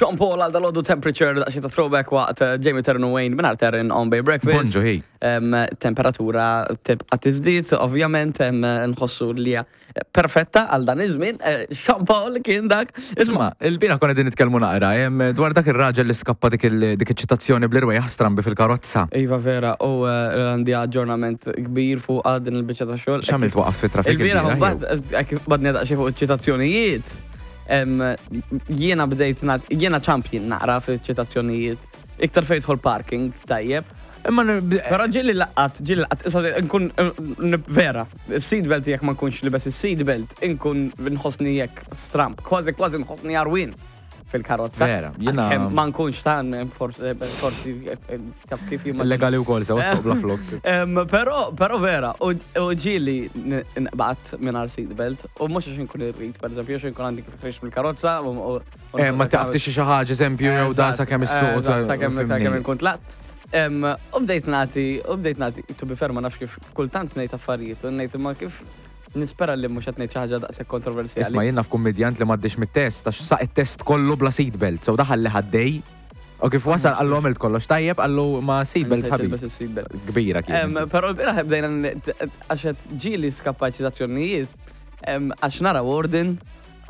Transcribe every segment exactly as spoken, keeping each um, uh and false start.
Sean Paul għal dalgħodu Temperature, daqsxejn ta' throwback waqt eh, Jamie Terran u Wayne minn Terran on Bay Breakfast. Bonġu, hi. Em, Temperatura tibqa' tiżdied, ovvjament, em, nħossu li hija perfetta għal dan iż-żmien. Eh, Sean Paul kien dak. Isma, il-bieraħ konna din nitkellmu naqra, em, dwar dak ir-raġel li skappa dik il- dik iċ-ċitazzjoni bl-irwejjaħ strambi fil-karozza. Iva vera, u eh, għandi aġġornament kbir fuq din il-biċċa ta' xogħol. X'għamilt waqaf fi traffic Il-bieraħ il-bieraħ, mbagħad eh, kif badni daqsxejn fuq iċ-ċitazzjonijiet. em, Jiena bdejt nat- jiena champion naqra fiċ-ċitazzjonijiet. Iktar fejn jidħol parking, tajjeb. Imma n- Però ġieli laqat, ġieli laqat, issa nkun eh, n- vera, il-seatbelt jekk ma nkunx libes il-seatbelt, inkun nħossni jekk stramp, kważi kważi nħossni għarwien fil-karozza. Vera, jiena- Għalkemm ma nkunx tan, forsi, forsi, eh, taf kif jimma. Illegali wkoll sewa suq bla flok. Em, Però, però vera, u u ġieli nqbad mingħajr seatbelt, u mhux għax nkun irrid, per eżempju, għax nkun għandi kif ħriġt mill-karozza. u- u- u- Eh, ma taqaf tixi xi ħaġa, eżempju, jew da sakemm is-suq. Eżatt, Sakemm sakemm nkun tlaqt. Em, U bdejt nagħti, u bdejt nagħti, to be fair, ma nafx kif kultant ngħid affarijiet, u ngħid imma kif nispera li mhux qed ngħid xi ħaġa daqshekk kontroversjali. Isma' jien naf kummedjant li m'għaddix mit-test, għax saq it-test kollu bla seatbelt, so daħal li ħaddej. U kif wasal qallu għamilt kollox tajjeb, qallu ma seatbelt Nsejt ħabib. ilbes il-seatbelt. Kbira Em, kien. Però l-bieraħ bdejna n- t- għax qed ġieli skappa ċitazzjonijiet, em, għax nara warden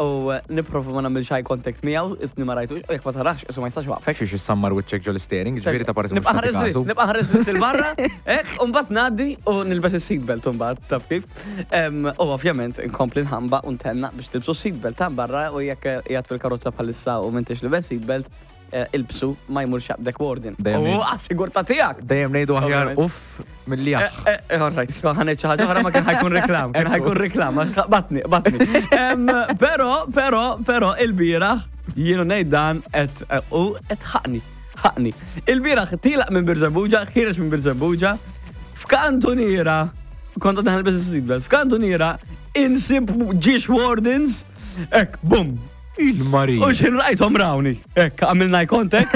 u nipprova ma nagħmilx eye contact miegħu, isni ma rajtux, u jekk ma tarax, isu ma jistax waqfek. Xiex issammar wiċċek ġol steering, ġifieri ta' parti mhux Nibqa' tagħti ħares kasu. nibqa' ħares il barra, hekk, u mbagħad ngħaddi u nilbes is-seatbelt mbagħad, taf kif. Em, U ovvjament nkompli nħamba u ntenna biex tilbsu seatbelt ta' barra u jekk qiegħed fil-karozza bħalissa u m'intix libes seatbelt, eh, ilbsu ma jmurx jaqbdek warden. Dejjem U ngħid- għas-sigurtà tiegħek. Dejjem ngħidu aħjar Ovvjament. uff milli Eh, aħ. eh, eh, all right, ħa ngħid xi ħaġa oħra ma kien ħa jkun reklam, kien ħa jkun reklam, għax batni, batni. Em, Però, però, però, il-bieraħ jienu ngħid dan et u et ħaqni, ħaqni. Il-bieraħ tilaq minn Birżebbuġa, ħiereġ minn Birżebbuġa, f'kantuniera, kont għadna nilbes is-seatbelt, f'kantuniera insib ġiex wardens, hekk, bum, Il-Marija. U xin rajthom rawni. Hekk, għamilna contact,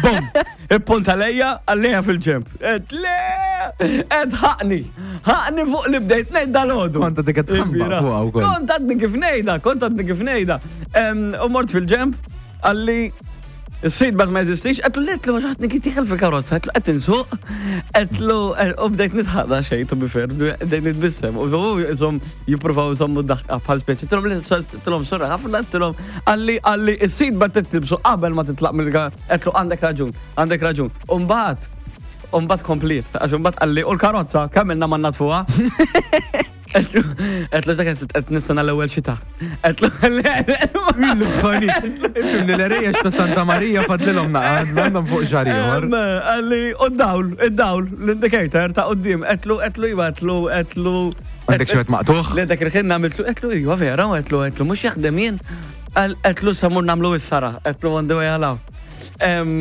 bum, ippunta lejja, għalleja fil-ġemp. Et le, et ħaqni, ħaqni fuq li bdejt ngħid dalgħodu. Kont għadek qed tħambaq fuqha wkoll. Kont għadni kif ngħidha, kont għadni kif ngħidha. Em, U mort fil-ġemp, għalli il-seatbelt ma jeżistix, għedtlu għedtlu għax kif dieħel fil-karozza, għedtlu qed insuq, għedtlu, u bdejt nidħaq xejn, to be fair, bdejt nitbissem, u jisom jippruvaw jżommu daħqa bħal speċi, għedtilhom sorry, ħafna għedtilhom, għalli għalli il-seatbelt tilbsu qabel ma titlaq mill għedtlu għandek raġun, għandek raġun. Umbagħad, umbagħad komplet, għax umbagħad għalli, u l-karozza, kemm ilna ma naddfuha? Għedtlu dak qed nistenna l-ewwel xita. Għedtlu Il-ħani. Ifhimni l-erejjex ta' Santa Marija fadlilhom naqad, għandhom fuq xahar ieħor. Em, Għalli, u d-dawl, id-dawl, l-indicator ta' qoddim, għedtlu, għedtlu, iva, għedtlu, għedtlu. Għandek xi wieħed maqtugħ? Le dak il-ħin għamiltlu, għedtlu, iva vera, għedtlu, għedtlu, mhux jaħdem jien. Għal- Għedtlu sa mur nagħmlu is-sara, għedtlu on the way għalaw. Em,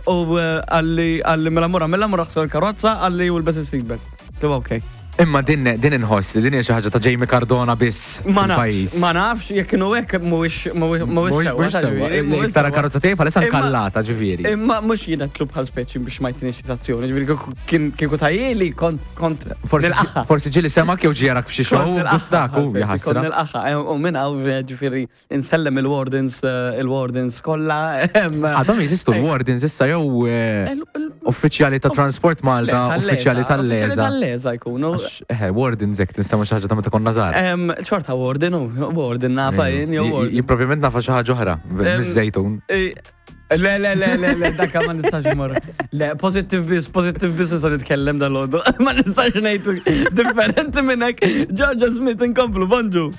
U għalli, għalli mela mura, mela mura ħsel il-karozza, għalli u l-bes il-seatbelt. Għedtlu, ok. Imma din din inħoss li din hija xi ħaġa ta' Jamie Cardona biss Ma nafx, fil-pajjiż. ma nafx, jekk kienu hekk mhuwiex mhuwiex mhuwiex sewwa, Mhuwiex sewwa. ġifieri, mhuwiex Tara sewwa. karozza tiegħi bħalissa Imma- nkallata ġifieri. Imma mhux jiena tlub bħal speċi biex ma jtini ċitazzjoni, ġifieri kieku- kien kieku tajjeli kont kont Forsi nilqaħħa. forsi ġieli semak jew ġierak f'xi show Kont nilqaħħa, gustaku bħal speċi, jaħasra. Kont nilqaħħa, eh, u minn hawn ġifieri insellem il-wardens eh, il-wardens kollha. em, Għadhom jeżistu l-wardens issa jew eh, il- il- uffiċjali ta' Transport Malta, Le, uffiċjali tal-leza, tal-leza. Uffiċjali tal-leza jkunu. Għax, Eh, wardens hekk tinstema' xi ħaġa ta' meta konna żgħar. Em, Xorta warden, u warden nafa jien, jew warden. Jien propjament nafa xi ħaġa oħra, Em, miż-żejtun. Eh, Le, le, le, le, le, dakka ma nistax imur. Le, positive biss, positive biss nista' nitkellem dalgħodu. Ma nistax ngħid differenti minn hekk. Georgia Smith inkomplu, bonġu.